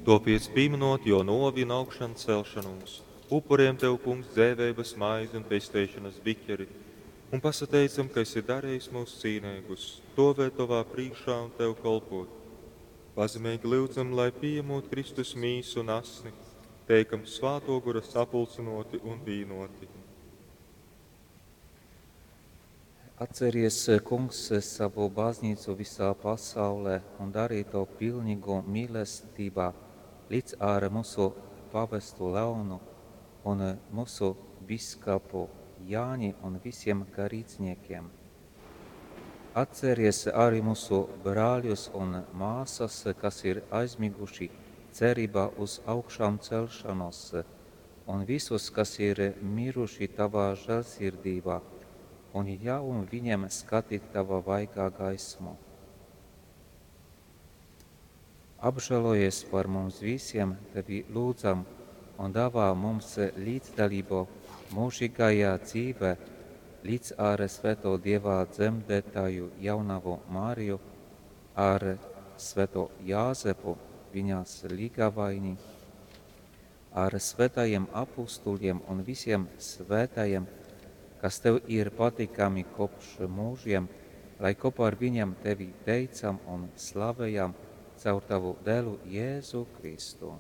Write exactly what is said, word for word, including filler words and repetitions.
Tōpiec, pīmynot Jō nōvi un augšancelšonūs, upurejam Tev, Kungs, dzeiveibas maizi un pesteišonas biķeri un pasateicam, ka esi darejis myus cīneigus stōvēt Tovā prīškā un Tev kolpōt. Pazemeigi lyudzam, lai, pījemūt Kristus mīsu un asni, teikam Svātō Gora sapulcynōti un vīnōti. Atceries, Kungs, savu baznīcu visā pasaulē un dari to pilnīgu mīlestībā līdz ar mūsu pavestu Leonu un mūsu bīskapu Jāni un visiem garīdzniekiem. Atceries arī mūsu brāļus un māsas, kas ir aizmiguši cerībā uz augšām celšanos, un visus, kas ir miruši tavā žēlsirdībā, un ļauj viņiem skatīt tava vaigā gaismu. Apžēlojies par mums visiem, tevi lūdzam, un dāvā mums līdzdalību mūžīgajā dzīvē, līdz ar Svēto Dieva dzemdētāju jaunavu Mariju, ar Svēto Jāzepu, viņas līgavaini, ar svētajiem apustuļiem un visiem svētajiem, kas tev ir patīkami kopš mūžiem, lai kopā ar viņiem tevi teicam un slavējam caur tavu dēlu Jēzu Kristu.